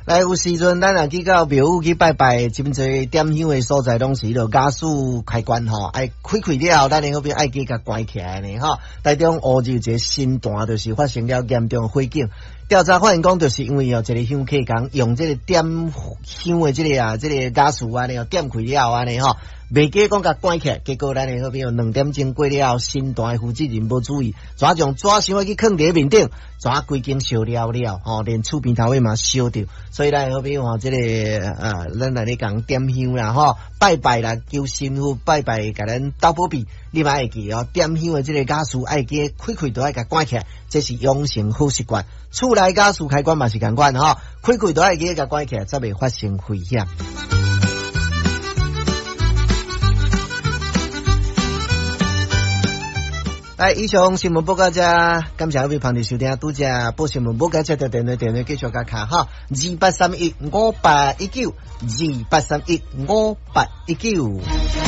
來，有時陣咱若去到廟宇去拜拜，真濟點香的所在，攏是彼囉瓦斯開關吼，愛開開了後，咱的好朋友愛記共關起來呢吼。台中烏日一个神壇就是發生了嚴重火警，調查發現講，就是因為哦，一个香客共用這个點香的這个啊，這个瓦斯按呢點開了後按呢吼，袂記講共關起來，結果咱的好朋友2點鐘過了後，神壇的負責人無注意，怎將紙箱去囥佇面頂，怎規間燒了了吼，連厝邊頭尾嘛燒著。所以咱的好朋友吼，這个咱來咧講點香啦吼，拜拜啦，求神父拜拜，共咱鬥保庇，你嘛會記哦，點香的這个瓦斯愛記開開都愛共關起來，這是養成好習慣。厝內瓦斯開關嘛是仝款吼，開開都愛記共關起來，才袂發生危險。來，以上新聞報到這，感謝各位朋友收聽，拄則報新聞報到這，條電話電話繼續共敲哈，28315819，28315819。